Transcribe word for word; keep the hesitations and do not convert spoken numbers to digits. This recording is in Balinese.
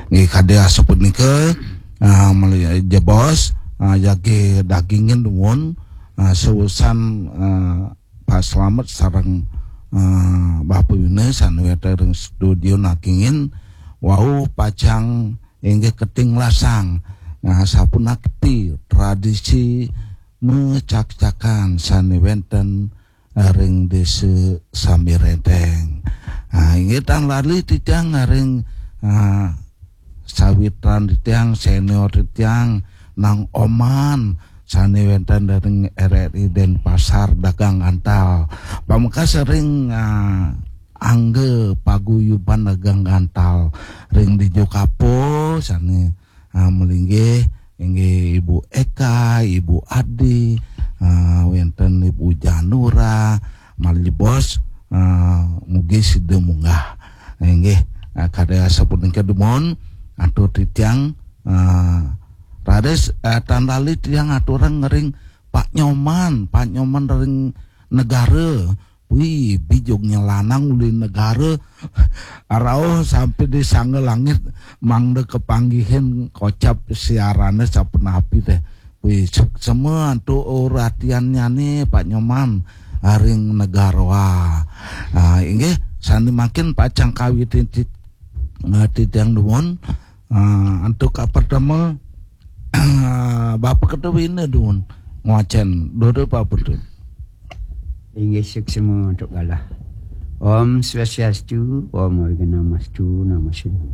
Nggih, kadi asapunika, ah, meli-, jebos, ah, jagi dagingin dumun, ah, seusan, ah, Pak Slamet sareng, ah, Bapak Yune sane wenten ring studio nagingin wau pacang inggih keting lasang, ah, sapunapi tradisi mecak-cakan sane wenten ring desa Sami Renteng. Ah, inggih tan lali titiang ring, ah, sawitran titiang, senior titiang, Nang Oman, sane wenten ring R R I Denpasar, dagang antal. Pamekas ring, ah, angga paguyuban dagang antal ring Dijo Kapo, sane, ah, malinggih inggih Ibu Eka, Ibu Adi, ah, wenten Ibu Janura, malih jebos, ah, mugi sida munggah. Inggih, ah, kadi asapunika dumun, atur titiang, ah, raris, ah, tan lali tiang aturang ring Pak Nyoman, Pak Nyoman ring Negara. Wih, bijugnya lanang uli Negara. Rauh sampai di sangga langit, mangda kepanggihin kocap siarane sapunapi teh. Wih, suksema antuk uratiannyane Pak Nyoman ring Negara. Ah, inggih, sane mangkin pacang kawitin tit-, eh, titiang dumun. Ah, antuk kapertama, Bapak Ketua Bina dumun ngwacen. Dudu Bapak Ketua. Inggih, suksema antuk galah. Om Swastiastu, Om Awighnamastu, Namo Siddham.